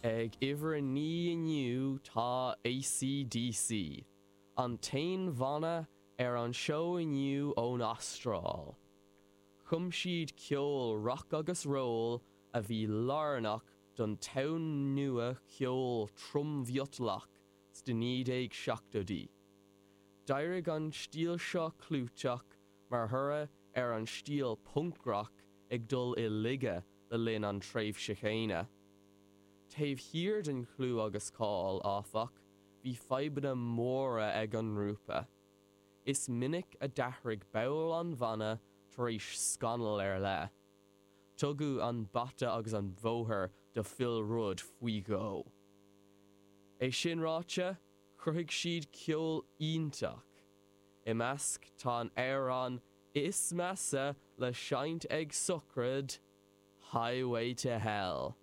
Ag uimhir 9 inniu tá AC/DC, an t-aon bhanna ar an seó inniu ón Astráil. Chum siad ceol rock agus roll a bhí lárnach don tonn nua ceoil trom-mhiotalach sna 1970idí. D'éirigh an stíl seo clúiteach mar thoradh ar an stíl punc-rock ag dul i laige le linn an tréimhse chéanna. Taobh thiar den chlú agus cáil, áfach, bhí fadhbanna móra ag an ngrúpa. Is minic a d'athraigh baill an bhanna tar éis scannal ar leith. Tugadh an bata agus an bóthar do Phil Rudd faoi dhó. É sin ráite, chruthaigh siad ceol iontach. I measc tá an amhrán is measa le seinnt ag sochraid, Highway to Hell.